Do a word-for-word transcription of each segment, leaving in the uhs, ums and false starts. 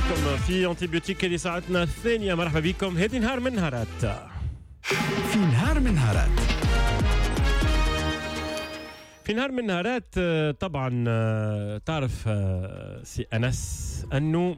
بكم في antibiotique اللي ساعتنا الثانيه. مرحبا بكم، هذه نهار من نهارات. في نهار من نهارات، في نهار من نهارات. طبعا تعرف سي انس انه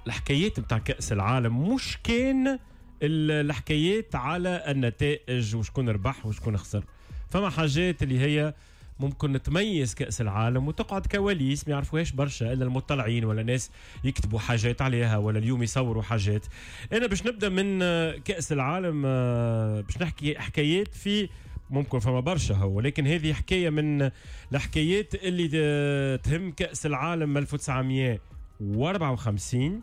الحكايات نتاع كاس العالم مش كان الحكايات على النتائج وشكون ربح وشكون خسر، فما حاجات اللي هي ممكن تميز كأس العالم وتقعد كواليس ما يعرفوهاش برشا إلا المطلعين ولا ناس يكتبوا حاجات عليها ولا اليوم يصوروا حاجات. أنا باش نبدأ من كأس العالم باش نحكي حكايات في ممكن فما برشا هو، ولكن هذه حكاية من الحكايات اللي تهم كأس العالم ألف وتسعمية وأربعة وخمسين،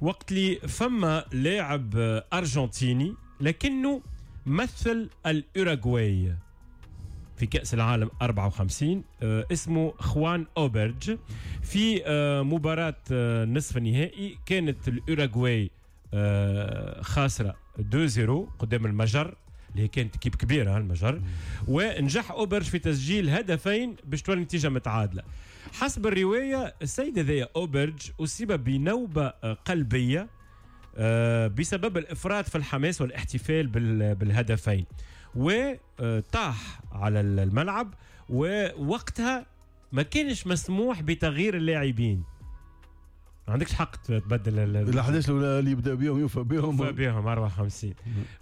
وقت اللي فما لاعب أرجنتيني لكنه مثل الأوروغواي في كأس العالم أربعة وخمسين، اسمه خوان أوبرج. في مباراة نصف النهائي كانت الأوروغواي خاسرة اثنين صفر قدام المجر اللي كانت équipe كبيرة المجر، ونجح أوبرج في تسجيل هدفين باش تولي النتيجة متعادلة. حسب الرواية السيد هذايا أوبرج أصيب بنوبة قلبية بسبب الإفراط في الحماس والاحتفال بالهدفين، وطاح على الملعب، ووقتها ما كانش مسموح بتغيير اللاعبين. ما عندكش حق تبدل ال احداش اللي يبدا بيهم يوفى بيهم يوفى بيهم أربعة وخمسين.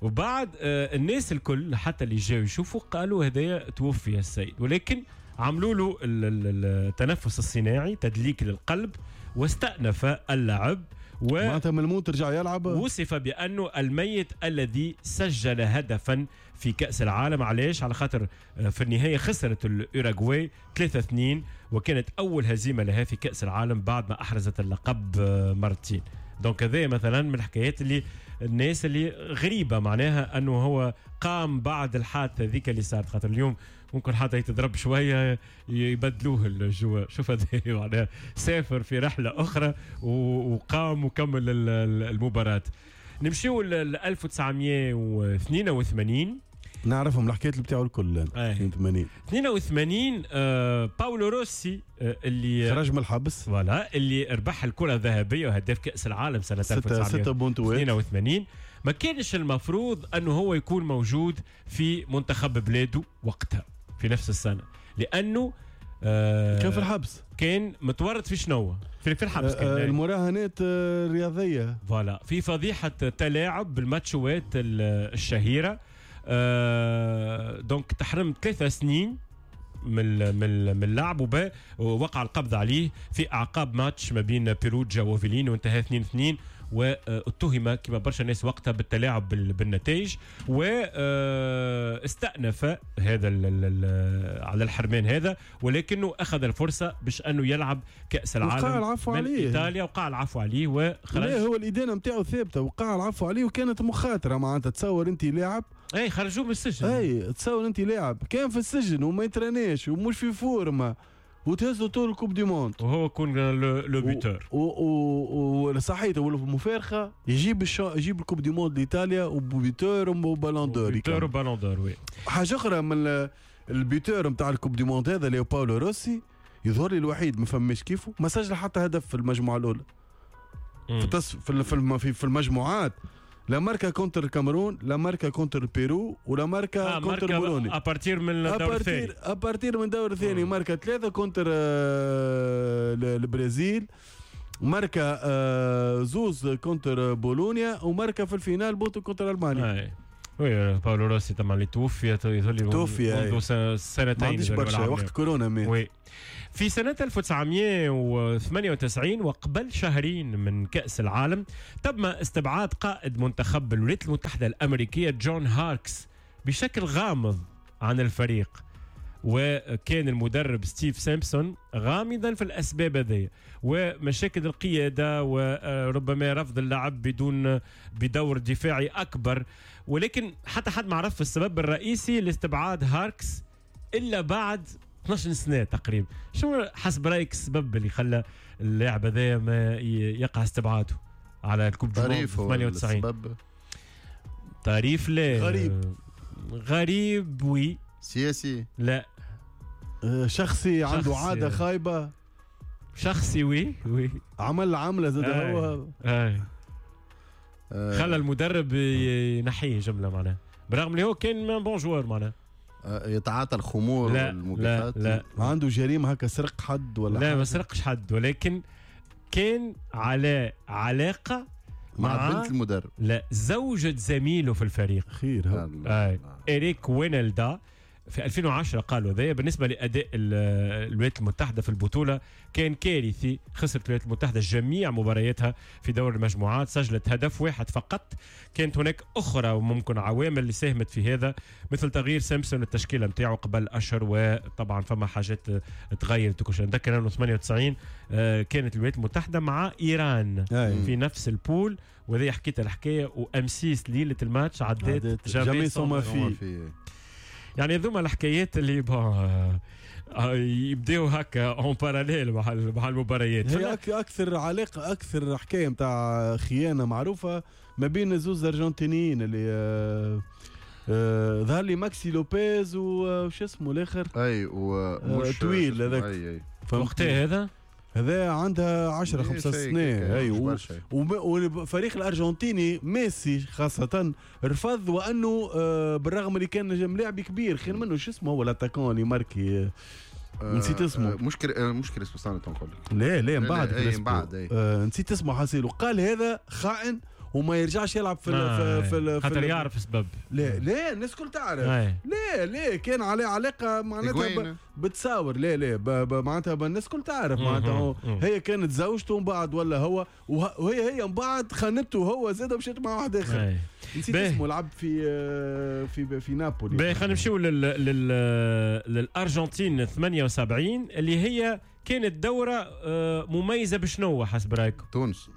وبعد الناس الكل حتى اللي جاوا يشوفوا قالوا هدايا توفي السيد، ولكن عملوا له التنفس الصناعي تدليك للقلب واستأنف اللعب، معناتها من الموت رجع يلعب. وصف بأنه الميت الذي سجل هدفا في كأس العالم. علاش؟ على خاطر في النهاية خسرت الأوروغواي ثلاثة اثنين، وكانت أول هزيمة لها في كأس العالم بعد ما أحرزت اللقب مرتين. donc هذا مثلا من الحكايات اللي الناس اللي غريبة، معناها أنه هو قام بعد الحادثة ذيك اللي صارت، خاطر اليوم ممكن حتى يتضرب شوية يبدلوه ال joueur. شوف هذا معناها سافر في رحلة أخرى وقام وكمل المباراة. نمشيو ل ألف وتسعمية واثنين وثمانين، نعرفهم الحكايات اللي بتاعو الكل. اثنين وثمانين اثنين وثمانين آه باولو روسي آه اللي خرج من الحبس، voilà، اللي ربح الكرة الذهبية وهداف كأس العالم سنة ألف وتسعمية واثنين وثمانين. ما كانش المفروض أنه هو يكون موجود في منتخب بلاده وقتها في نفس السنة، لأنه آه كان في الحبس، كان متورط في شنو؟ في في الحبس كان. آه المراهنات الرياضية، voilà، في فضيحة تلاعب بالماتشوات الشهيرة. آه donc تحرم ثلاثة سنين من من اللعب، ووقع القبض عليه في أعقاب ماتش ما بين بيروجا وفيلين وانتهى اثنين اثنين، واتهم كما برشا ناس وقتها بالتلاعب بالنتائج، واستأنف هذا على الحرمان هذا، ولكنه أخذ الفرصة باش أنه يلعب كأس العالم وقع العفو من عليه. إيطاليا، وقع العفو عليه وخرج. لا، هو الإدانة متاعه ثابتة، وقع العفو عليه وكانت مخاطرة. معناتها تصور أنت لاعب، اي خرجوه من السجن، اي تصور أنت لاعب كان في السجن وما يترناش ومش في forme وتهزوا طول ال coupe du monde، وهو يكون le buteur و صحيح والمفارقه يجيب الشا... يجيب ال coupe du monde لايطاليا و buteur و ballon d'or، buteur و ballon d'or. oui حاجة اخرى من ال buteur نتاع ال coupe du monde هذا اللي هو باولو روسي، يظهر لي الوحيد ما فماش كيفه، ما سجل حتى هدف في المجموعة الاولى في التص... في في, في المجموعات، لا ماركا contre الكاميرون، لا ماركا contre البيرو، ولا ماركا آه contre بولونيا. à partir من الدور الثاني، à partir من الدور الثاني ماركا ثلاثة contre آه البرازيل، ماركا آه زوز contre بولونيا، وماركا في ال finale بوتو contre المانيا. آه. oui باولو روسي طبعا اللي توفي توفي منذ سنتين، ما عنديش برشا وقت كورونا مات. oui. في سنة ألف وتسعمية وثمانية وتسعين وقبل شهرين من كأس العالم تم استبعاد قائد منتخب الولايات المتحدة الأمريكية جون هاركس بشكل غامض عن الفريق، وكان المدرب ستيف سامبسون غامضا في الأسباب هذه ومشاكل القيادة وربما رفض اللعب بدون بدور دفاعي أكبر، ولكن حتى حد ما عرف السبب الرئيسي لاستبعاد هاركس إلا بعد اثناش سنة تقريبا. شو حسب رأيك السبب اللي خلى اللاعب هذا ما يقع استبعاده على ال coupe du monde ثمانية وتسعين؟ تعريف لا غريب، غريب oui سياسي لا شخصي، عنده عادة خايبة. شخصي oui oui عمل عمله زاد هو اي خلى المدرب ينحيه جملة معناها، برغم اللي هو كان bon joueur معناها. يتعاطى الخمور والموبقات. لا لا عنده جريمة هكا، سرق حد ولا؟ لا ما سرقش حد، ولكن كان على علاقة مع, مع بنت المدرب. لا، زوجة زميله في الفريق. خير آه. إريك وينالدا في ألفين وعشرة قالوا هذا بالنسبة لأداء الولايات المتحدة في البطولة كان كارثي. خسرت الولايات المتحدة جميع مبارياتها في دور المجموعات، سجلت هدف واحد فقط. كانت هناك أخرى وممكن عوامل اللي ساهمت في هذا، مثل تغيير سامسون التشكيلة نتاعو قبل أشهر، وطبعا فما حاجات تغيرت وكل شيء. نذكر أنه ثمانية وتسعين كانت الولايات المتحدة مع إيران أي. في نفس ال poule، وهذه حكيت الحكاية. وأمسيس ليلة الماتش عدت jamais sans ma fille. يعني ذوما الحكايات اللي يبداو هكا en parallèle مع مع المباريات. هي اكثر علاقة، اكثر حكاية نتاع خيانة معروفة ما بين زوز ارجنتينيين اللي آه آه ظهر لي ماكسي لوبيز وش اسمه الاخر، اي ومش طويل هذاك. وقتها هذا هذا عندها عشرة خمسة سنين. اي وفريق الارجنتيني ميسي خاصة رفض، وانه بالرغم اللي كان ملاعب كبير خير منه. شو اسمه هو l'attaquant اللي ماركي، نسيت اسمه. مش مش كريسبو سانو تنقول لك. لا لا من بعد من بعد نسيت اسمه حصيل. وقال هذا خائن وما يرجعش يلعب في آه في في خاطر يعرف السبب. لا لا الناس الكل تعرف. آه. لا لا كان عليه علاقة معناتها بتصاور. لا لا معناتها الناس الكل تعرف معناتها هي كانت زوجته ومن بعد ولا هو، وهي هي من بعد خانته هو زاد مشيت مع واحد اخر. نسيت اسمه، لعب في في في نابولي. باهي خلينا نمشيو لل لل للارجنتين ثمانية وسبعين اللي هي كانت دوره مميزة بشنو حسب رايكم؟ تونس.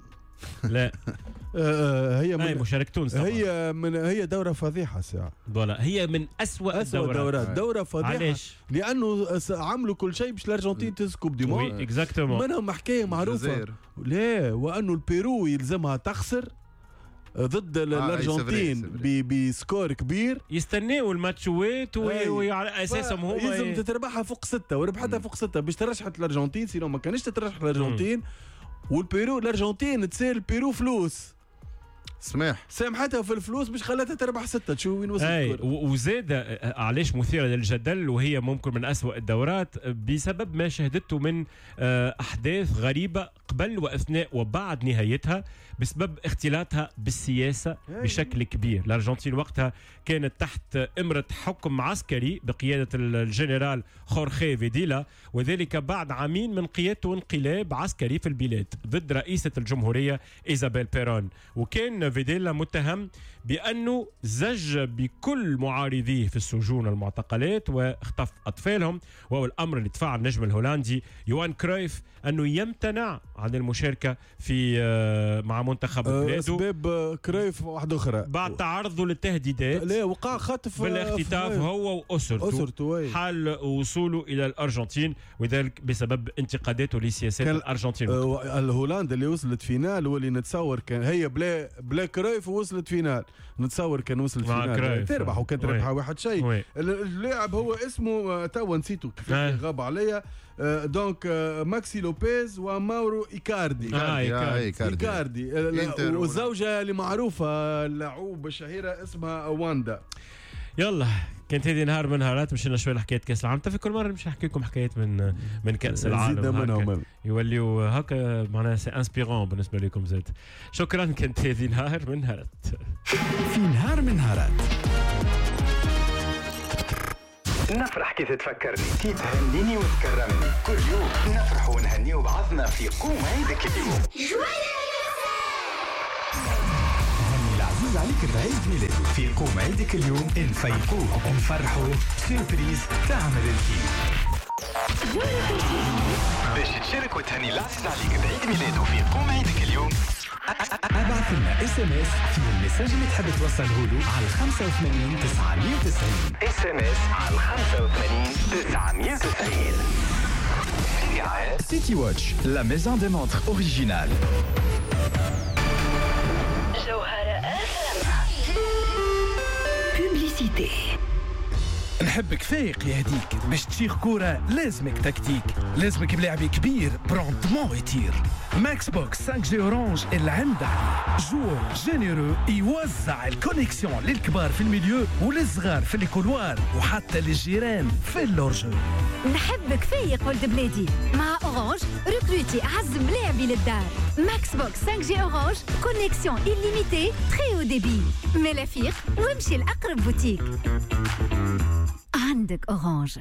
لا هي من مشاركة تونس طبعا. هي من هي دورة فضيحة ساعة. voilà هي من أسوأ الدورات. الدورات دورة فضيحة. علاش؟ لأنه عملوا كل شيء باش الأرجنتين تهز coupe du monde. oui exactement. منهم حكاية معروفة. لا، وأنه البيرو يلزمها تخسر ضد آه الارجنتين ب score كبير. يستناو الماتشوات وعلى اساسهم هما يلزم تتربحها فوق ستة، وربحتها فوق ستة باش ترشحت الارجنتين، sinon ما كانش تترشح الارجنتين. والبيرو الارجنتين تسال البيرو فلوس، سماح سامحتها في الفلوس باش خلتها تربح ستة. تشوف وين وصلت. وزاد علاش مثيرة للجدل وهي ممكن من أسوأ الدورات بسبب ما شهدته من أحداث غريبة قبل وأثناء وبعد نهايتها بسبب اختلاطها بالسياسة بشكل كبير. الأرجنتين وقتها كانت تحت إمرة حكم عسكري بقيادة الجنرال خورخي فيديلا، وذلك بعد عامين من قيادته انقلاب عسكري في البلاد ضد رئيسة الجمهورية إيزابيل بيرون. وكان فيديلا متهم بأنه زج بكل معارضيه في السجون المعتقلات واختف أطفالهم، وهو الأمر اللي دفع النجم الهولندي يوان كرويف أنه يمتنع عن المشاركة في مع منتخب بلاده. أسباب كرويف واحدة أخرى بعد تعرضه للتهديدات، لا وقع خطف بالاختطاف هو وأسرته أسرته حال وصوله إلى الأرجنتين، وذلك بسبب انتقاداته لسياسات الأرجنتين. الهولندا اللي وصلت finale واللي نتصور كان هي بلا بلا كرويف وصلت finale، نتصور كان وصلت finale تربح، وكان تربحها واحد شيء. اللاعب هو اسمه توا نسيته كيف غاب عليا، donc ماكسي لوبيز وماورو إيكاردي. آه إيكاردي, إيكاردي. والزوجة اللي معروفة اللعوبة الشهيرة اسمها واندا. يلا كانت هذه نهار من نهارات، مشينا شوي لحكاية كاس العالم. في كل مرة مش نحكي لكم حكايات من من كاس العالم، يوليو هكا معناها c'est inspirant بالنسبة لكم زاد. شكرا، كانت هذه نهار من نهارات. في نهار من نهارات نفرح كي تتفكرني، كي تهنيني وتكرمني، كل يوم نفرح ونهنيو بعضنا في قوم عيدك اليوم. هني العزيز عليك بعيد ميلاده في قوم عيدك اليوم، نفيقوه نفرحوه surprise تعمل الكيف. باش تشارك وتهني العزيز عليك بعيد ميلاده في قوم عيدك اليوم، ابعث لنا SMS في ال message اللي تحب توصله له على خمسة وثمانين تسعمية وتسعين. SMS على خمسة وثمانين تسعمية وتسعين. City Watch, la maison des montres originale. جوهرة اف ام. Publicité. نحبك فايق يهديك باش تشيخ كورة لازمك تكتيك، لازمك بلاعب كبير ب rendement يطير. Max Box خمسة G Orange اللي عند عليه joueur généreux يوزع ال connexion للكبار في ال milieu وللصغار في ال couloir وحتى للجيران في ال hors-jeu. نحبك فايق ولد بلادي مع Orange recruter عز ملاعبي للدار. Max Box خمسة G Orange connexion illimitée très haut débit. ملا فيق وامشي لاقرب بوتيك عندك Orange.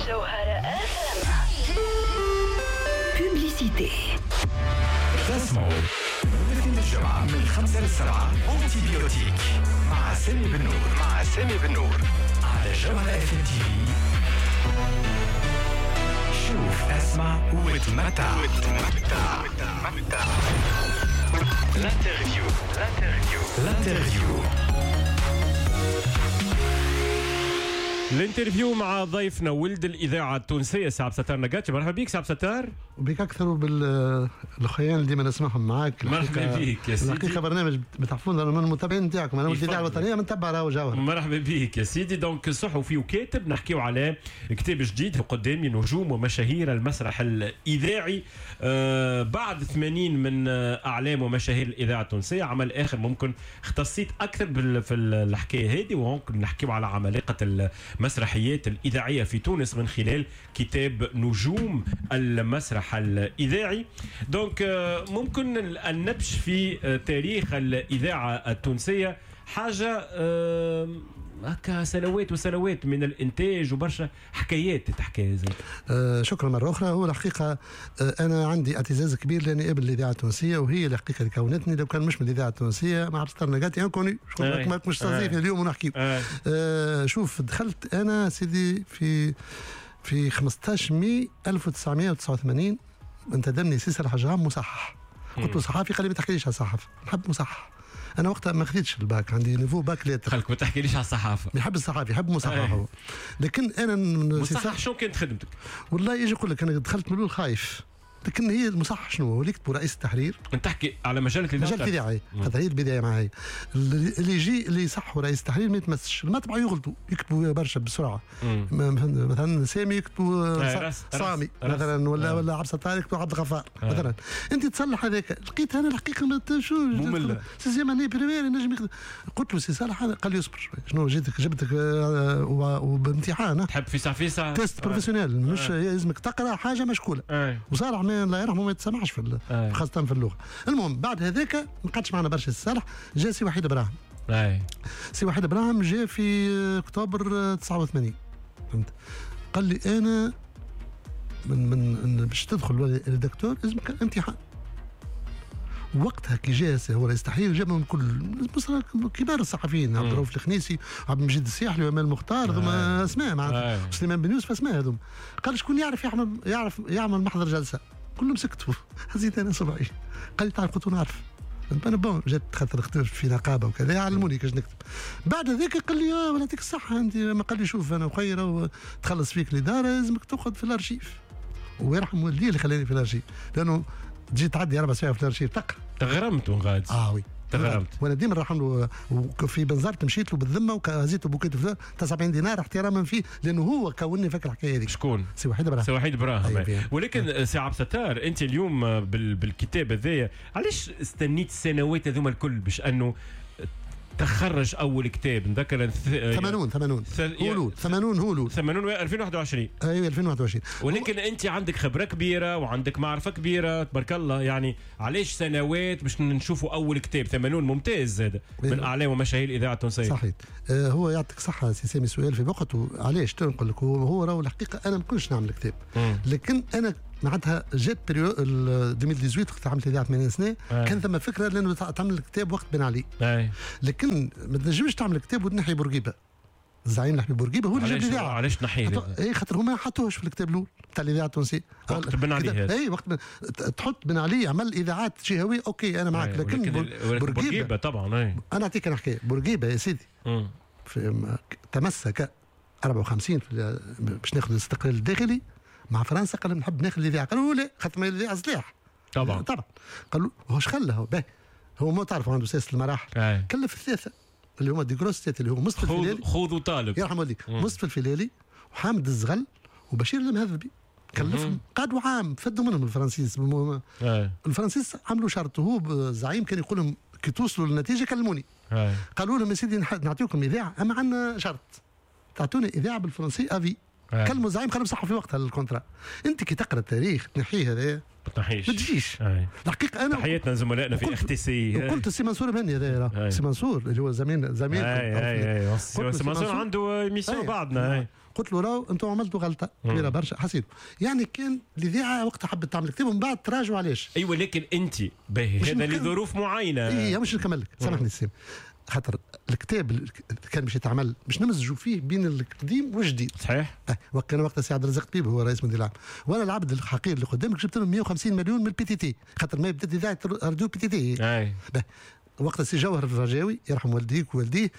جوهرة اف publicité. تسمعوا الاثنين الجمعة من خمسة للسبعة Antibiotique مع سامي بنور مع سامي بنور على جوهرة FM TV. شوف اسمع وتمتع وتمتع وتمتع. L'interview l'interview l'interview ال interview مع ضيفنا ولد الاذاعة التونسية سي عبد الستار نقاتي. مرحبا بك سي عبد الستار. وبك اكثر وبالاخوان اللي ديما نسمعهم معاك. مرحبا بك يا سيدي. الحقيقة برنامج بتعرفون انا من المتابعين نتاعكم، انا ولد الاذاعة الوطنية نتبع راهو جوهر. مرحبا بك يا سيدي. donc صحفي وكاتب، نحكيو على كتاب جديد قدامي نجوم ومشاهير المسرح الاذاعي آه بعد ثمانين من اعلام ومشاهير الاذاعة التونسية. عمل اخر ممكن اختصيت اكثر في الحكاية هذه، وممكن نحكيو على عمالقة المسرحيات الإذاعية في تونس من خلال كتاب نجوم المسرح الإذاعي. donc ممكن النبش في تاريخ الإذاعة التونسية حاجة هكا سنوات وسنوات من الإنتاج وبرشا حكايات تتحكى. آه شكرا مرة أخرى. هو الحقيقة آه أنا عندي اعتزاز كبير لأني قبل الإذاعة التونسية، وهي الحقيقة اللي كونتني. لو كان مش من الإذاعة التونسية مع عبد الستار نقاتي inconnu مش تستضيفني اليوم ونحكي. آه شوف، دخلت أنا سيدي في في خمسطاش ماي ألف وتسعمية وتسعة وثمانين انتدبني سي صالح الجرام مصحح. قلت له صحافي، قال لي ما تحكيليش على الصحافة، نحب مصحح. انا وقتها ما خديتش الباك، عندي niveau bac lettres. خلك ما تحكيليش على الصحافة. يحب الصحافي، يحب مصحح هو. لكن انا مصحح شو كانت خدمتك؟ والله يجي يقول لك انا دخلت من الاول خايف، لكن هي المصحح شنو هو؟ اللي يكتبوا رئيس التحرير. انت تحكي على مجلة الاذاعة. مجلة الاذاعة خاطر هي البداية معايا. اللي يجي اللي يصحوا رئيس التحرير ما يتمسش، المطبعة يغلطوا، يكتبوا برشا بسرعة. مثلا سامي يكتبوا سامي مثلا، ولا ولا عبد الستار يكتبوا عبد الغفار مثلا. انت تصلح هذاك. لقيت انا الحقيقة ما شو مملة. sixième année primaire نجم. قلت له سي صالح، قال لي اصبر شوي. شنو جيتك جبتك وبامتحان تحب في ساعة في ساعة test professionnel، مش لازمك تقرا حاجة مشكوله. وصالح ما الله يرحمه ما يتسمعش في خاصة في اللغة. المهم بعد هذاك ما قعدش معنا برشا الصالح، جا سي وحيد ابراهيم. اي سي وحيد ابراهيم جا في اكتوبر تسعة وثمانين، فهمت؟ قال لي انا من من باش تدخل rédacteur لازمك امتحان. وقتها كي جا هو رئيس التحرير جاب من كل كبار الصحفيين، عبد الرؤوف الخنيسي، عبد المجيد السياحلي، وامال المختار، ذوما اسماء معناتها، سليمان بن يوسف، اسماء هذوما. قال شكون يعرف يعمل يعرف يعمل محضر جلسه؟ كلهم سكتوا. هزيت انا صبعي. قال لي تعرف؟ قلت له نعرف. انا bon جات خاطر خدمت في نقابة وكذا، علموني كيفاش نكتب. بعد ذاك قال لي اه يعطيك الصحة انت. ما قال لي شوف انا وخيره وتخلص فيك الادارة لازمك تاخذ في الارشيف. ويرحم والديه اللي خلاني في الارشيف، لانه تجي تعدي اربع ساعات في الارشيف تقرا. تغرمت غادي. اه oui تغرمت. وانا ديما نرحم له. في بنزرت مشيت له بالذمه وهزيته bouquet de سبعين دينار احتراما فيه، لانه هو كونني فاكر الحكاية هذيك. شكون؟ سي وحيد ابراهيم. سي وحيد ابراهيم. ولكن سي عبد الستار، انت اليوم بالكتاب هذايا علاش استنيت السنوات هذوما الكل باش انه تخرج اول كتاب؟ نذكر ثمانون ثمانون هولو ثمانون هولو ثمانون ألفين وواحد وعشرين. ايوه ألفين وواحد وعشرين. ولكن انت عندك خبره كبيرة وعندك معرفة كبيرة تبارك الله، يعني علاش سنوات باش نشوفوا اول كتاب؟ ثمانون ممتاز هذا من اعلام ومشاهير الاذاعة التونسية. صحيح. آه هو يعطيك صحة سي سامي، سؤال في وقته. علاش نقول لك هو, هو راهو الحقيقة انا ما كنتش نعمل كتاب، لكن انا معناتها جات période ألفين وثمنطاش وقت عملت الاذاعة ثمانين سنة. آه. كان ثم فكرة لانه تعمل كتاب وقت بن علي. آه. لكن ما تنجمش تعمل كتاب وتنحي بورقيبة. الزعيم الحبيب بورقيبة هو اللي جاب الاذاعة. علاش تنحيه؟ اي خاطر هما ما حطوهش في الكتاب الاول تاع الاذاعة التونسية وقت بن علي. اي وقت بن... تحط بن علي عمل اذاعات جهويه OK انا معك، لكن بورقيبة, بورقيبة طبعا. اي انا اعطيك انا حكاية بورقيبة يا سيدي. في... تمسك أربعة وخمسين في... باش ناخذ الاستقلال الداخلي مع فرنسا. قال نحب ناخذ الاذاعة، قالوا لا خاطر ما الاذاعة سلاح طبعا طبعا. قالوا هو اش خلى هو باهي، هو ما تعرف عنده سياسة المراحل. كلف الثلاثة اللي هما des grosses têtes اللي هو مصطفى الفيلالي، خذ وطالب يرحم والديك، مصطفى الفيلالي وحامد الزغل وبشير المهذبي، كلفهم قعدوا عام فدوا منهم الفرنسيس. آه. الفرنسيس عملوا شرط، هو الزعيم كان يقول لهم كي توصلوا للنتيجة كلموني. آه. قالوا لهم يا سيدي نعطيكم اذاعة اما عندنا شرط، تعطوني اذاعة بالفرنسي à vie. آه. كلموا الزعيم قالوا صحوا في وقتها ال contrat. انت كي تقرا التاريخ تنحيه هذا ما تنحيش، ما تجيش. آه. الحقيقة انا تحياتنا لزملائنا في اختي وقلت سي منصور بني هذا، سي منصور اللي هو زميل زميل اي اي سي منصور عنده émission بعدنا. قلت له راهو انتم عملتوا غلطه كبيرة برشا حسيت يعني. كان الاذاعة وقتها حبت تعمل كتاب ومن بعد تراجعوا علاش. ايوه لكن انت باهي هذا لظروف معينة. اي مش نكمل لك سامحني سي، خاطر الكتاب كان باش يتعمل باش نمزجوا فيه بين القديم والجديد. صحيح. وكان وقتها سي عبد الرزاق طبيب هو رئيس مدير العام، وانا العبد الحقير اللي قدامك جبت لهم مية وخمسين مليون من ال PTT، خاطر ما بدات اذاعة راديو PTT. اي وقتها سي جوهر الرجاوي يرحم والديك ووالديه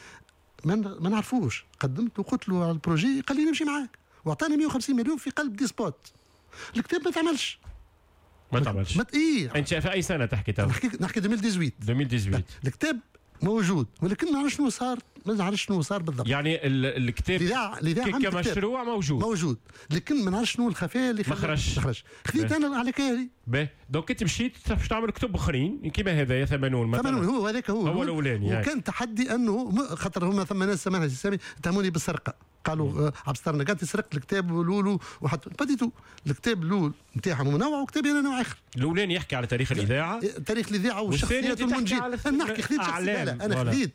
ما نعرفوش، قدمت وقلت له على ال projet قال لي نمشي معاك، واعطاني مية وخمسين مليون في قلب des spots. الكتاب ما تعملش ما تعملش ما ايه. انت في اي سنة تحكي تو؟ نحكي نحكي ألفين وثمنطاش ألفين وثمنطاش. الكتاب موجود ولكن ما نعرفش شنو صار، ما نعرفش شنو صار بالضبط. يعني الكتاب الإذاعة كمشروع موجود موجود لكن ما نعرفش شنو الخفايا اللي ما خرجش. ما خرجش. خذيت انا على كاري. باهي donc انت مشيت باش تعمل كتب اخرين كيما هذايا ثمانون مثلا. ثمانون هو هذاك هو هو الاولاني. وكان تحدي انه خاطر هما ثم ناس سامحني سامي اتهموني بالسرقة، قالوا عبد الستار نقاطي سرقت الكتاب الاول وحط pas du tout. الكتاب الاول نتاعهم نوع وكتابي انا نوع اخر. الاولاني يحكي على تاريخ الاذاعة، تاريخ الاذاعة والشخصيات والمنجين. انا نحكي خذيت شخصيات، لا انا خذيت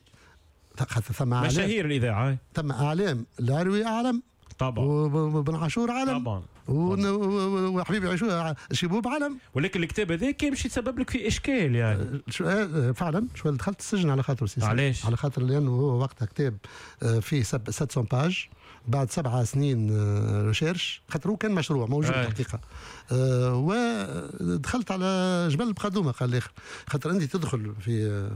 ثم اعلام مشاهير الاذاعة، ثم اعلام العروي اعلم طبعا، وبن عاشور علم طبعا، وحبيبي عاشور شيبوب علم. ولكن الكتاب هذا كان باش يتسبب لك في اشكال يعني. شو فعلا شو دخلت السجن على خاطر سيسي. علاش؟ على خاطر لانه هو وقتها كتاب فيه سبعمية pages بعد سبعة سنين recherche، خاطر هو كان مشروع موجود الحقيقة. أه ودخلت على جبل بقدومه قال الاخر، خاطر انت تدخل في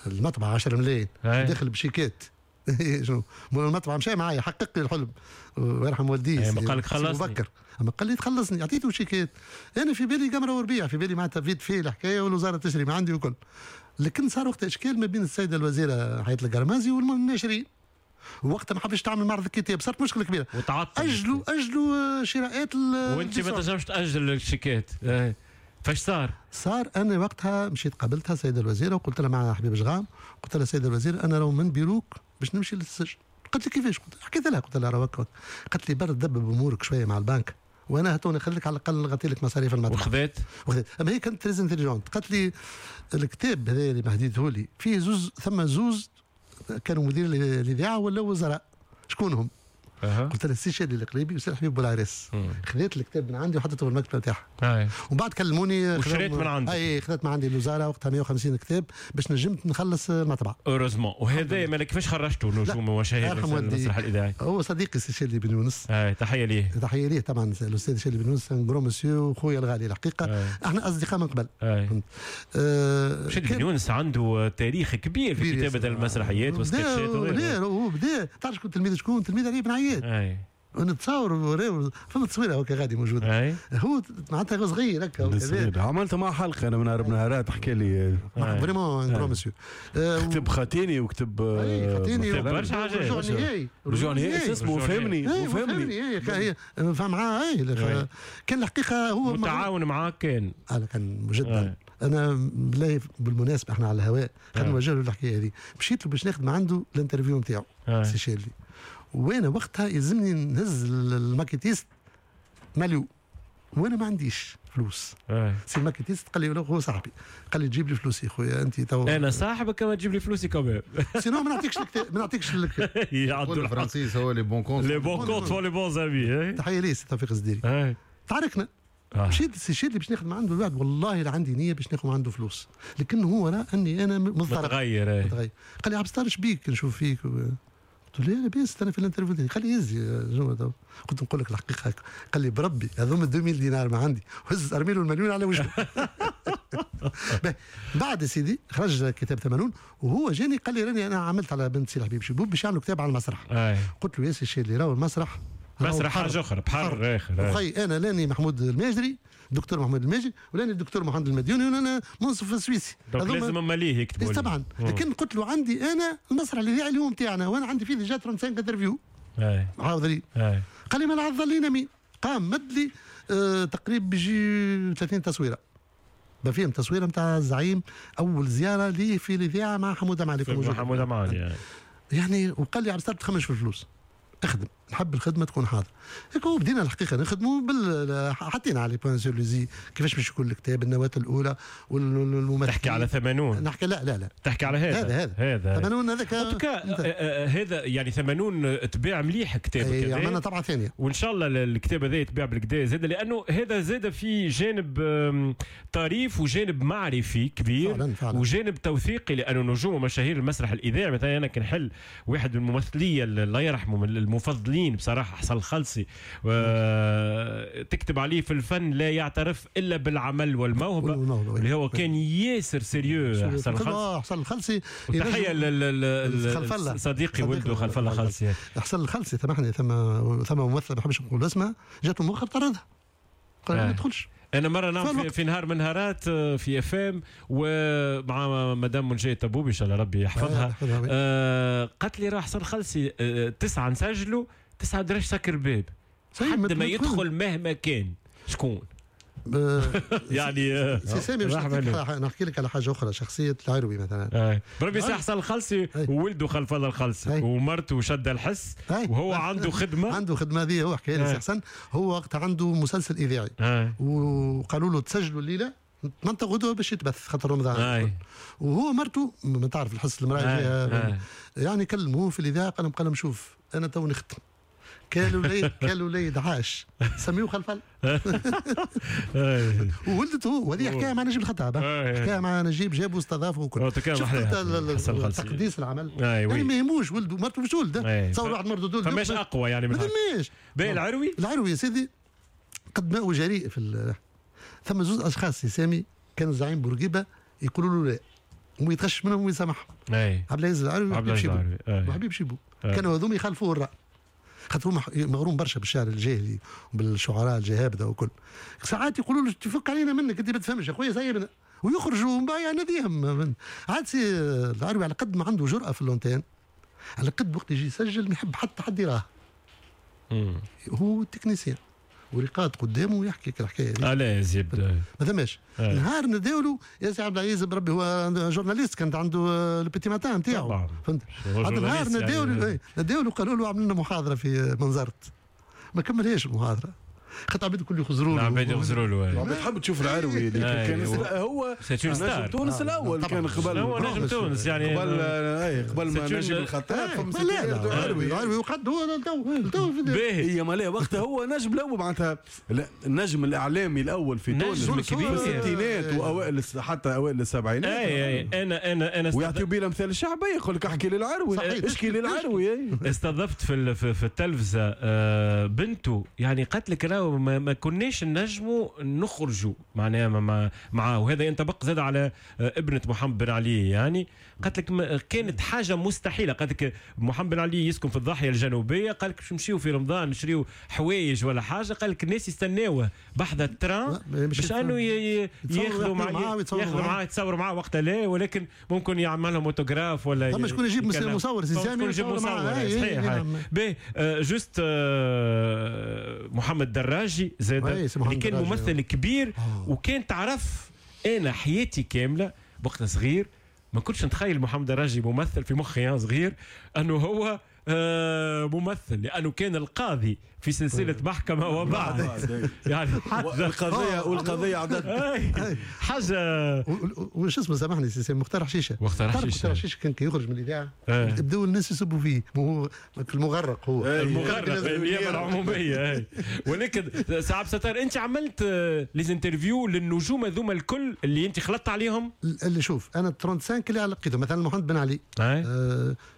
المطبعة عشرة ملايين داخل بشيكات شنو المطبعة مشى معايا حقق لي الحلم ويرحم والديه. ما قال لك خلصني، اما قال لي تخلصني عطيته شيكات. انا في بالي قمره وربيع، في بالي معناتها vite fait الحكاية والوزارة تشري ما عندي وكل. لكن صار وقت اشكال ما بين السيدة الوزيرة حياة القرمازي والناشرين، وقتها ما حبش تعمل معرض الكتاب، صارت مشكلة كبيرة وتعطل. اجلوا اجلوا شراءات وانت ما تنجمش تاجل الشيكات. فاش صار؟ صار انا وقتها مشيت قابلتها السيدة الوزيرة وقلت لها مع حبيب جغام، قلت لها السيدة الوزيرة انا لو من بيروك باش نمشي للسجن. قالت لي كيفاش؟ قلت حكيت لها قلت لها راك. قالت لي برد دبب امورك شوية مع البنك وانا هاتوني نخليك على الاقل نغطي لك مصاريف المطبعة. وخذت؟ وخذت. اما هي كانت très intelligente. قالت لي الكتاب هذا اللي مهديته لي فيه زوز، ثم زوز كانوا مدير الاذاعة ولا وزراء، شكون هم؟ أه. قلت لها السي شادي القريبي والسي حبيب بولعريس. خذيت الكتاب من عندي وحطيته في المكتبة نتاعها. ومن بعد كلموني وشريت من عندك. اي خذيت من عندي الوزارة وقتها مية وخمسين كتاب باش نجمت نخلص المطبعة. heureusement. وهذا مالك كيفاش خرجتوا نجوم ومشاهير المسرح الاذاعي؟ هو صديقي السي شادي بن يونس. اي تحية ليه. تحية ليه طبعا الاستاذ شادي بن يونس un grand monsieur وخويا الغالي الحقيقة. أي. احنا اصدقاء من قبل. أه شادي بن يونس عنده تاريخ كبير في كتابه المسرحيات والسكتشات وغيره. هو بدا تعرف شكون تلميذ شكون؟ تلميذ علي بن عياد. اي ونتصور فما تصويره هكا غادي موجودة. هو معناتها صغير هكا. عملت معه حلقة انا من هرب نهارات حكى لي vraiment grand monsieur. كتب خاتيني وكتب خاتيني برشا حاجات. رجوع نهائي، رجوع نهائي اسمه فهمني وفهمني فهم معاه. اي كان الحقيقة هو متعاون معاك كان كان جدا. انا بالله بالمناسبة احنا على الهواء خلينا نوجه له الحكاية هذه. مشيت له باش ناخذ من عنده ال interview نتاعو سي شادلي، وانا وقتها يلزمني نهز ال maquettiste ماليو وانا ما عنديش فلوس. أي. سي ال maquettiste قال لي هو صاحبي، قال لي تجيب لي فلوسي خويا انت تو انا صاحبك ما تجيب لي فلوسي كمان sinon ما نعطيكش الكتاب ما نعطيكش الكتاب. يعدوا الفرنسيس هو les bons comptes les bons comptes les bons amis. تحية ليه سي توفيق الزديري. تعاركنا. مشيت لسي شادلي باش ناخذ من عنده الوعد، والله لا عندي نيه باش ناخذ من عنده فلوس، لكن هو راه اني انا مضطرب متغير. متغير. قال لي عبد الستار شبيك نشوف فيك؟ قلت له لاباس انا في ال interview. قال لي يزي شنو؟ قلت نقول لك الحقيقة. قال لي بربي هذوما ألفين دينار ما عندي، وهز ارمي له المليون على وجهه. بعد سيدي خرج كتاب ثمانون وهو جاني قال لي راني انا عملت على بنت سي الحبيب شيبوب باش يعملوا كتاب على المسرح. قلت له يا سي الشادلي راهو المسرح مسرح حاجة اخرى، بحر اخر. وخي انا لاني محمود الماجري الدكتور محمود الماجري ولاني الدكتور محمد المديوني ولا منصف السويسي. donc لازم ماليه يكتبوا. طبعا. لكن قلت له عندي انا المسرح الاذاعي اليوم تاعنا وانا عندي فيه déjà خمسة وثلاثين interviews حاضرين. قال لي ما العظ لينا مين؟ قام مد لي آه تقريبا بيجي ثلاثين تصويره فيهم تصويره نتاع الزعيم اول زيارة لي في الاذاعة مع حموده معالي. مع حموده معالي يعني. وقال لي عبد الستار تخمش في الفلوس، اخدم، نحب الخدمة تكون حاضره. هيك بدينا الحقيقة نخدموا بال حطينا على les points sur les i كيفاش باش يكون الكتاب، النواة الاولى والممثلين. تحكي على ثمانون؟ نحكي لا لا لا تحكي على هذا هذا هذا هذا ثمانون هذاك. هذا يعني ثمانون تباع مليح كتابك هذا. عملنا طبعه ثانية وان شاء الله الكتاب هذا يتباع بالكدا زاد، لانه هذا زاد في جانب طريف وجانب معرفي كبير فعلا فعلا. وجانب توثيقي، لانه نجوم ومشاهير المسرح الاذاعي مثلا انا كنحل واحد من الممثليه الله يرحمه من المفضلين بصراحة حسن الخلصي، تكتب عليه في الفن لا يعترف الا بالعمل والموهبه، اللي هو كان ياسر sérieux حسن الخلصي. حسن الخلصي تحية لصديقي ولده خلف الله خلصي. حسن الخلصي سامحني ثم ثم ممثل ما نحبش نقول اسمه جاته مؤخر طردها قال ما تدخلش. انا مرة نعم في, في نهار من نهارات في FM ومع مدام منجيه تبوبي ان شاء الله ربي يحفظها، آه قالت لي راه حسن الخلصي آه تسعة نسجلوا تسعة درش سكر الباب حد ما يدخل مهما كان شكون. يعني سي سامي باش نحكي لك على حاجة اخرى، شخصية العروي مثلا. بربي سي حسن الخلصي وولده خلف الله الخلصي ومرته شد الحس وهو عنده خدمة عنده خدمة هذه هو حكى لي سي حسن، هو وقت عنده مسلسل اذاعي وقالوا له تسجلوا الليلة منطقة غدوه باش يتبث خاطر رمضان، وهو مرته ما تعرف الحس المراة فيها يعني كلموه في الاذاعة قال لهم قال لهم شوف انا تو نختم كان وليد كان وليد عاش سميوه خلف وولدته، وهذه حكاية مع نجيب الخطاب، حكاية مع نجيب جابوا استضافة وكل. شفت تقديس العمل يعني ما يهموش ولده مرته مش ولده، تصور واحد مرته دول فماش اقوى يعني ما ثماش. باهي العروي العروي يا سيدي قد ما هو جريء في ال... ثم زوج اشخاص يا سامي كان الزعيم بورقيبة يقولوا له لا ويتغش منهم ويسامحهم، عبد العزيز العروي وحبيب شيبو وحبيب شيبو كانوا هذوما يخالفوه الراي خاطر هو مغروم برشا بالشعر الجاهلي وبالشعراء الجهابده وكل. ساعات يقولوا له تفك علينا منك انت ما تفهمش يا خويا سايبنا، ويخرجوا من بعد ناديهم. عاد سي العروي على قد ما عنده جرأه في l'antenne، على قد وقت يجي يسجل ما يحب حتى حد يراه. هو technicien ورقاد قدامه ويحكي الحكاية هذه. لا يزيد ما ثماش. نهار نداولوا يا سي عبد العزيز بربي هو journaliste كانت عنده le Petit Matin نتاعو فهمت. عاد نهار نداولوا نداولوا قالوا له عملنا لنا محاضرة في منظرت، ما كملهاش المحاضرة خاطر عباد الكل يخزروا له. العباد يخزروا له. العباد تحب تشوف العروي اللي كان هو نجم تونس الاول، كان قبل هو نجم تونس يعني قبل اي قبل ما نجيب الخطاب فما العروي العروي وقد هو تو تو هي ما وقتها هو نجم الاول معناتها النجم الاعلامي الاول في تونس في الستينات واوائل حتى اوائل السبعينات. اي انا انا انا ويعطيو بيه الامثال الشعبية يقول لك احكي للعروي اشكي للعروي. استضفت في في التلفزة بنته يعني قالت لك راهو ما, ما كناش نجموا نخرجوا معناها مع معاه، وهذا ينطبق زاد على ابنة محمد بن علي يعني قالت لك كانت حاجة مستحيلة. قالت لك محمد بن علي يسكن في الضاحية الجنوبية، قال لك باش نمشيو في رمضان نشريو حوايج ولا حاجة، قال لك الناس يستناوه بحذا ال train باش انه ياخذوا معاه ياخذوا معاه يتصوروا معاه وقتها لا، ولكن ممكن يعمل لهم اوتوغراف ولا ثم شكون يجيب مصور سي سامي يجيب مصور صحيح. باهي juste محمد دراجي زاد اللي كان ممثل كبير وكان تعرف انا حياتي كاملة وقت صغير ما كنتش نتخيل محمد دراجي ممثل في مخي صغير انه هو ممثل، لانه كان القاضي في سلسلة محكمة وبعد يعني حاجة القضية والقضية عدد حاجة وش اسمه سامحني سي مختار حشيشه مختار حشيشه مختار حشيشه كان كي يخرج من الاذاعة بداو الناس يسبوا فيه، هو المغرق هو المغرق النيابة العمومية. ولكن سي عبد الستار انت عملت les interviews للنجوم هذوما الكل اللي انت خلطت عليهم؟ اللي شوف انا خمسة وثلاثين اللي لقيته مثلا محمد بن علي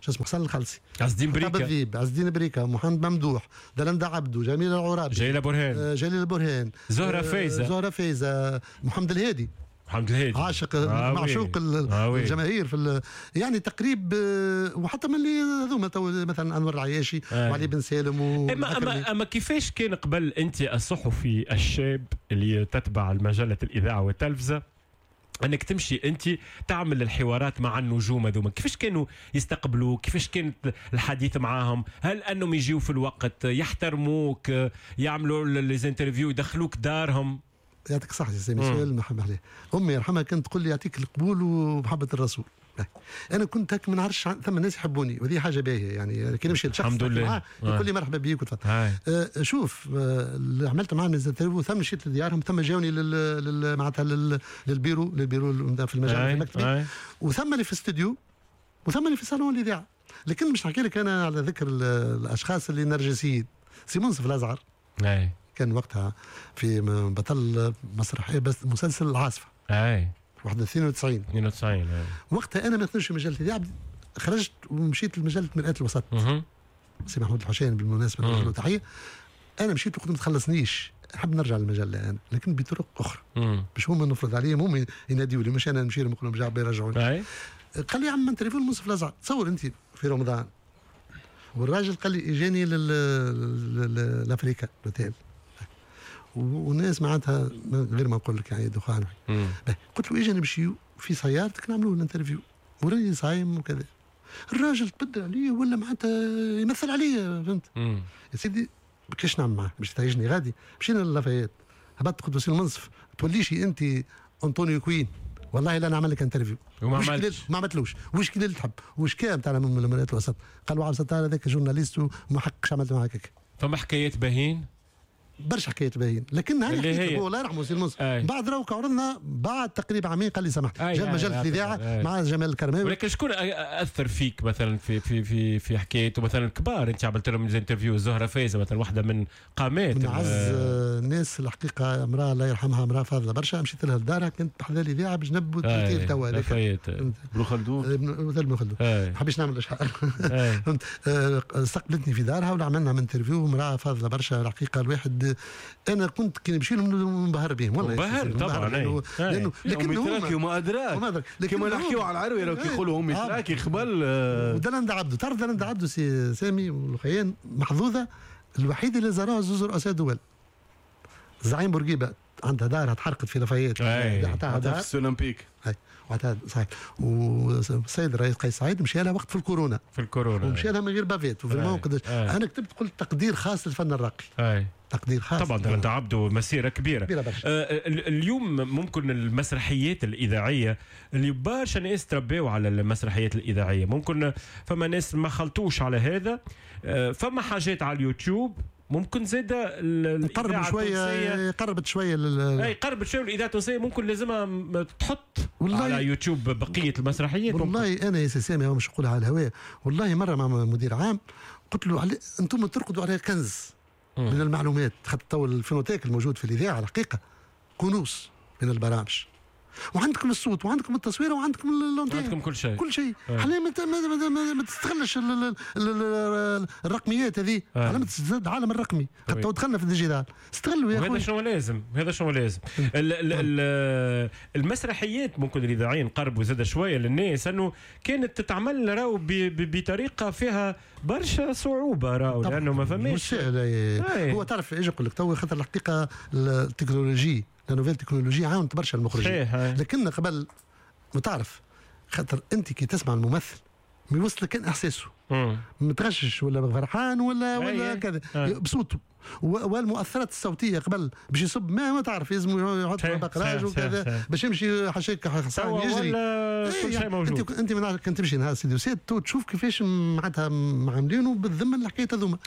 شو اسمه حسن الخلصي عز الدين بريكه عز الدين بريكه محمد ممدوح دلندا عبدو جميل العرابي جليلة برهان جليلة برهان زهرة فايزة زهرة فايزة محمد الهادي محمد الهادي عاشق آه معشوق آه الجماهير في يعني تقريب، وحتى من اللي هذوما مثلا انور العياشي آه. وعلي بن سالم و اما اما اما كيفاش كان قبل انت الصحفي الشاب اللي تتبع المجلة الاذاعة والتلفزه انك تمشي انت تعمل الحوارات مع النجوم هذوما، كيفاش كانوا يستقبلوا؟ كيفاش كانت الحديث معاهم؟ هل انهم يجيوا في الوقت، يحترموك، يعملوا les interviews، يدخلوك دارهم؟ يعطيك الصحة يا سامي، سؤال محب عليه. أمي يرحمها كانت تقول لي يعطيك القبول ومحبة الرسول. أنا كنت هك ما نعرفش، ثم الناس يحبوني وهذه حاجة باهية يعني، كي نمشي لشخص الحمد لله يقول لي مرحبا بيك وتفضل. آه شوف آه اللي عملت معاهم les interviews، ثم مشيت لديارهم، ثم جاوني لل معناتها لل bureau لل bureau في المجال في المكتب، وثم اللي في الاستوديو، وثم اللي في صالون الإذاعة. لكن مش نحكي لك أنا على ذكر الأشخاص اللي نرجسيين. سي منصف الأزعر أي. كان وقتها في بطل مسرحية بس مسلسل العاصفة اي واحد اثنين وتسعين اثنين وتسعين أي. وقتها انا ما نخدمش في مجلة الاذاعة، خرجت ومشيت لمجله مرآة الوسط. سي محمود الحسين بالمناسبة نوجه له تحية. انا مشيت وقلت ما تخلصنيش، نحب نرجع للمجله انا، لكن بطرق اخرى باش هما نفرض عليهم، هما يناديوا لي، مش انا نمشي لهم نقول لهم جا يرجعوني. قال لي يا عم interview المنصف الازعر، تصور انت في رمضان، والراجل قال لي اجاني لافريكا l'hôtel، والناس معناتها غير ما نقول لك يعني دخان. قلت له اجي نمشيو في سيارتك نعملوا ال interview، وراني صايم وكذا. الراجل تبدل عليه ولا معناتها يمثل عليا، فهمت؟ يا سيدي كيفاش نعمل معاه باش تعيشني غادي؟ مشينا للافايات، هبطت قلت له سي المنصف توليش انت انطونيو كوين، والله لا نعمل لك interview. وما عملتش، ما عملتلوش. وش كي اللي تحب وش كان تاع من الوسط؟ قالوا عبد الستار هذاك journaliste وما حقش عملت معاك هكا. فما حكايات باهين برشا حكايات باهين، لكن هاني هو الله يرحمه سي المنصف بعد راهو عرضنا بعد تقريبا عامين قال لي سامحني، جا مجلة الاذاعة مع جمال الكرماوي. ولكن شكون اثر فيك مثلا في في في في حكايته مثلا الكبار انت عملت لهم interview؟ زهره فايزه مثلا، واحدة من قامات من اعز الناس الحقيقة، امراة الله يرحمها، امراة فاضلة برشا، مشيت لها لدارها كنت بحذا الاذاعة بجنب التوتيل توا هذاك ابن خلدون، ابن خلدون ما حبيتش نعمل اشهار. فهمت؟ استقبلتني في دارها وعملنا interview، امراة فاضلة برشا الحقيقة. الواحد انا كنت كي نمشي لهم منبهر بهم والله، منبهر طبعا، لانه لانه لكن هما وما ادراك كما نحكيو على العروي لو كيقولوا هم تراكي قبل. ودلندا عبدو، تعرف دلندا عبدو سي سامي والخيان محظوظة الوحيدة اللي زاروها زوز رؤساء دول. زعيم بورقيبة عندها دارها تحرقت في لافايات، عطاها دار في الاولمبيك، وعطاها صحيح. والسيد الرئيس قيس سعيد مشى لها وقت في الكورونا، في الكورونا ومشى لها من غير bavette و vraiment قداش. انا كتبت قلت تقدير خاص للفن الراقي. أي. تقدير خاص طبعا. دلندا عبدو مسيره كبيرة, كبيرة برشا. آه اليوم ممكن المسرحيات الاذاعية اللي برشا ناس تربيوا على المسرحيات الاذاعية، ممكن فما ناس ما خلطوش على هذا، آه فما حاجات على اليوتيوب ممكن زاد قرب شوية، قربت شوية لل... اي قربت شوية الاذاعة التونسية، ممكن لازمها تحط على يوتيوب بقية المسرحيات. والله ممكن. انا يا سي سامي مش نقولها على الهواء، والله مرة مع مدير عام قلت له علي... انتم ترقدوا على كنز م. من المعلومات، خاطر تو ال phonothèque الموجود في الاذاعة الحقيقة كنوز من البرامج، وعندكم الصوت وعندكم التصوير وعندكم l'antenne، عندكم كل شيء، كل شيء. حنا ما, ما, ما, ما تستغلش ال ال ال الرقميات هذه، على ما تزداد العالم الرقمي، حتى دخلنا في ال digital، استغلوا يا خويا. هذا شنو لازم، هذا شنو لازم. ال ال ال المسرحيات ممكن الاذاعيين قربوا زاد شوية للناس، انه كانت تتعمل راهو بطريقة فيها برشا صعوبة راهو، لانه ما فماش. هو تعرف ايش نقول لك تو، خاطر الحقيقة ال technologie، la nouvelle technologie عاونت برشا المخرجين، لكن قبل ما تعرف خاطر انت كي تسمع الممثل ما يوصلك كان احساسه، متغشش ولا فرحان ولا ولا كذا بصوته، والمؤثرات الصوتية قبل باش يصب ما ما تعرف لازم يحط بقراج وكذا باش يمشي حشيك حصان يجري، كل شيء موجود. انت انت من كنت تمشي نهار سيدي وسيد تشوف كيفاش معناتها عاملينه بالذمه الحكاية هذوما،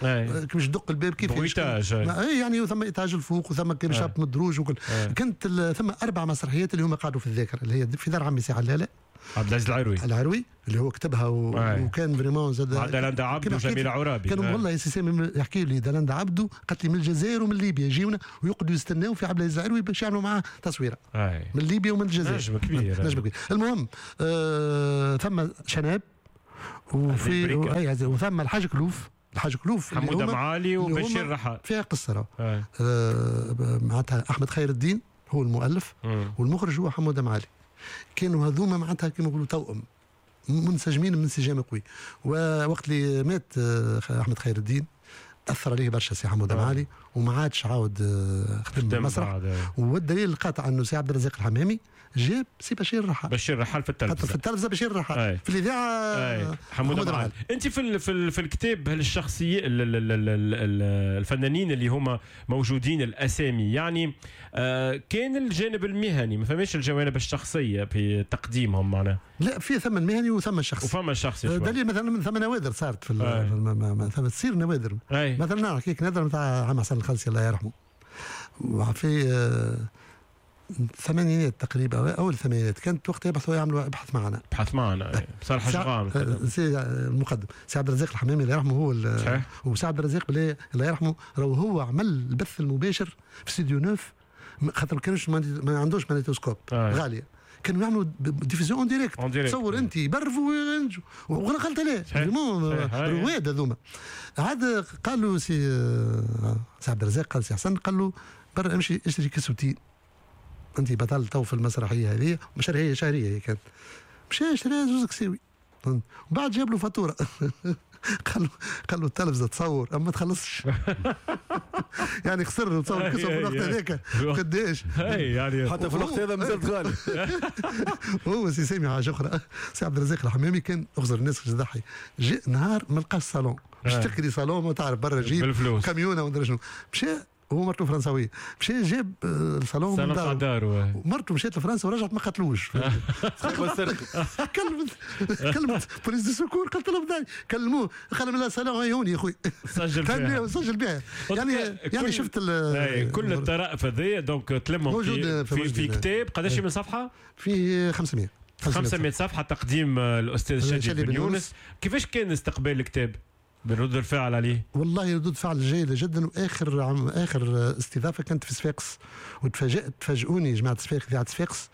كيفاش تدق الباب، كيف اي يعني، ثم étage الفوق وثم كيفاش هبط من الدروج وكل. كانت ثم اربع مسرحيات اللي هما قعدوا في الذاكرة، اللي هي في دار عمي سي علاله عبد العزيز العروي، العروي اللي هو كتبها و... وكان vraiment زاد مع دلندا عبدو وجميلة عرابي. كانوا والله يا سي سامي يحكي لي دلندا عبدو قالت لي من الجزائر ومن ليبيا يجيونا ويقعدوا يستناو في عبد العزيز العروي باش يعملوا معاه تصويره. أي. من ليبيا ومن الجزائر. نجم كبير، نجم كبير. المهم آه ثم شناب وفي و... وثم الحاج كلوف، الحاج كلوف حموده معالي وبشير رحال فيها قصة آه معناتها احمد خير الدين هو المؤلف مم. والمخرج هو حموده معالي. كانوا هذوما معناتها كما نقولوا توأم منسجمين من انسجام قوي. ووقت اللي مات آه، احمد خير الدين اثر عليه برشا سي حموده آه. معالي وما عادش عاود آه، خدم خدم المسرح. بعد. والدليل القاطع انه سي عبد الرزاق الحمامي جاب سي بشير الرحال بشير رحال في حتى التلفزة في التلفزة بشير الرحال أي. في الاذاعة أي. حموده معالي. انت في ال في, ال في الكتاب هالشخصية ال- ال- ال- ال- ال- الفنانين اللي هما موجودين الاسامي يعني آه كان الجانب المهني ما فماش الجوانب الشخصية في تقديمهم معناها لا في ثم المهني وثم الشخصي. وفما الشخصي شوي. دليل مثلا ثم نوادر صارت في, ال- أي. في الم- ما- ما- ثم تصير نوادر. أي. مثلا نحكي لك نادرة نتاع عم حسن الخلسي الله يرحمه في آه، الثمانينات تقريبا اول الثمانينات كانت وقت يبحثوا يعملوا ابحث معنا بحث معنا أي. صالح سي- جغام آه، سي المقدم سي عبد الرزاق الحمامي الله يرحمه هو ال- صحيح. وسي عبد الرزاق بالله الله يرحمه راهو هو عمل البث المباشر في استوديو neuf م- خاطر ما كانوش ما عندوش magnétoscope آه. غالية كانوا يعملوا diffusion en direct. En direct. تصور انت يبرفوا وينجوا وغلط عليه صحيح. vraiment صحيح. أي. رواد هذوما. عاد قالوا سي آه، سي عبد الرزاق قال سي حسن قال له برا امشي اشتري كسوتين انت بطل تو في المسرحية هذه مشاريع شهرية هي كانت. مشى شرى زوز كساوي وبعد جاب له فاتورة قال له قال له التلفزة تصور اما ما تخلصش يعني خسر تصور كسوه في الوقت هذاك قداش اي يعني حتى في الوقت هذا مازالت غالي. هو سي سامي حاجة اخرى سي عبد الرزاق الحمامي كان اغزر الناس باش تضحي جاء نهار ما لقاش صالون باش آه. تكري صالون ما تعرف برا جيب بالفلوس. كاميونه وندري شنو مشى هو مرته فرنساويه مشى جاب آه، الصالون من صالون تاع داره دارو مرته مشات لفرنسا ورجعت ما قتلوش كلمت كلمت police de secours قالت لهم داي كلموه قال لهم لا صالون هيوني يا خويا سجل فيها سجل بها يعني يعني كل- شفت ال- أي، كل الطرائف هذيا donc تلمهم موجود في, في في, في موجود. كتاب قداش من صفحة؟ في خمسمية خمسمية صفحة تقديم آه، الاستاذ شادي شادي بن بن يونس. يونس. كيفاش كان استقبال الكتاب؟ برد الفعل عليه والله ردود فعل جيدة جدا. واخر عم اخر استضافة كانت في صفاقس وتفاجات تفاجئوني جماعة صفاقس اذاعة صفاقس.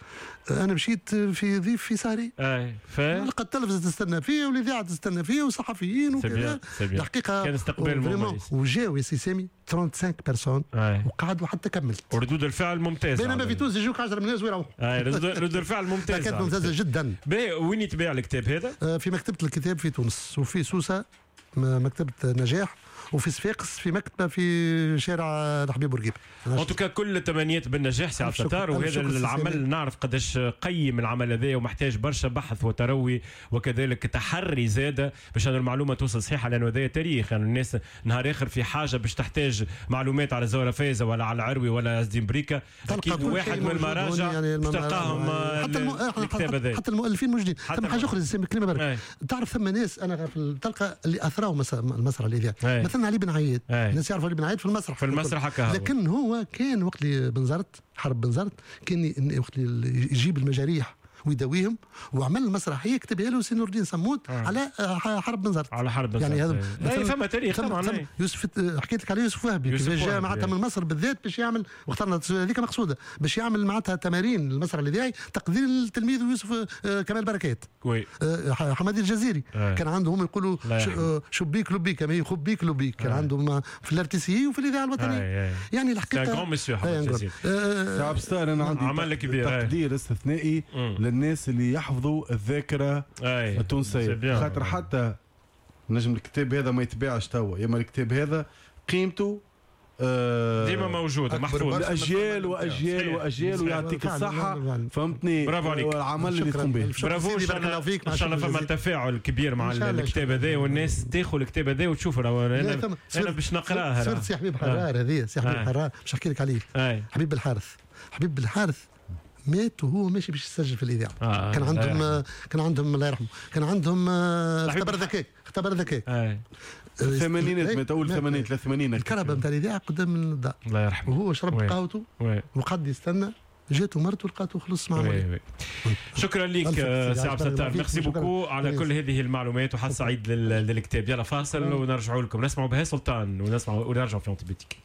انا مشيت في ضيف في سهري اي ف لقى التلفزة تستنى فيه والاذاعه تستنى فيه وصحفيين وكذا. c'est bien. الحقيقة كان استقبال مميز. وجاو يا سي سامي خمسة وثلاثين personnes أي. وقعدوا حتى كملت. وردود الفعل ممتازة بينما في تونس يجوك عشرة من الناس ويروحوا. اي ردود ردود الفعل ممتازة. كانت ممتازة جدا. باهي وين يتباع الكتاب هذا؟ آه، في مكتبه الكتاب في تونس وفي سوسة مكتبه نجاح وفي صفاقس في مكتبه في شارع الحبيب بورقيبة. en tout cas كل التمنيات بالنجاح سي عبد الستار، وهذا العمل نعرف قداش قيم العمل هذا ومحتاج برشا بحث وتروي وكذلك تحري زاده باش أن المعلومة توصل صحيحه، لانه هذا تاريخ، يعني الناس نهار اخر في حاجة باش تحتاج معلومات على زهره فايزه ولا على العروي ولا عز بريكه، اكيد واحد من المراجع يعني تلقاهم حتى الم... الكتاب هذا، حتى المؤلفين موجودين. ثم حاجة اخرى كلمة برك، تعرف ثم ناس انا تلقى اللي اثروا المسرح الاذاعي، مثلا علي بن عياد، الناس يعرفوا علي بن عياد في المسرح في المسرح هكا، لكن هو كان وقت اللي بنزرت حرب بنزرت كان وقت اللي يجيب المجاريح ويداويهم وعمل المسرحية كتبها له سي نور الدين صمود آه. على حرب بنزرت، على حرب بنزرت يعني هذا اي فما تاريخ طبعا. يوسف حكيت لك على يوسف وهبي كيفاش جاء معناتها من مصر بالذات باش يعمل، واخترنا هذيك مقصوده باش يعمل معناتها تمارين المسرح الاذاعي تقدير التلميذ يوسف كمال بركات، oui حمادي الجزيري آه. كان عندهم يقولوا شبيك لبيك ما يخبيك لبيك، كان آه. عندهم في ال RTC وفي الاذاعة الوطنية آه. يعني الحقيقة grand monsieur حمادي الجزيري. سي عبد الستار انا عندي عمل كبير تقدير استثنائي للناس اللي يحفظوا الذاكرة أي. التونسية، خاطر حتى نجم الكتاب هذا ما يتباعش توا، يا اما الكتاب هذا قيمته آه ديما موجودة محفوظة اجيال واجيال واجيال، ويعطيك الصحة فهمتني. برافو عليك العمل اللي تقوم به، برافو. ان شاء الله فما تفاعل كبير مع الكتاب هذا والناس تاخذ الكتاب هذا وتشوف. انا انا باش نقراه. صرت سي حبيب حرار هذه، سي حبيب حرار باش نحكي لك عليه. حبيب بالحارث، حبيب بالحارث مات وهو ماشي باش يسجل في الاذاعة. آه كان عندهم آه كان عندهم الله يرحمه كان عندهم آه اختبار ذكاء، اختبار ذكاء آه. الثمانينات، مات اول ثمانينات ثلاث الكرهبه نتاع الاذاعة قدام الدار الله يرحمه، وهو شرب قهوته وقعد يستنى، جاته مرته لقاته خلص مع oui oui. شكرا لك سي عبد الستار، merci beaucoup على كل هذه المعلومات وحظ سعيد للكتاب. يلا فاصل ونرجعوا لكم، نسمعوا بها سلطان ونسمعوا ونرجعوا في antibiotique.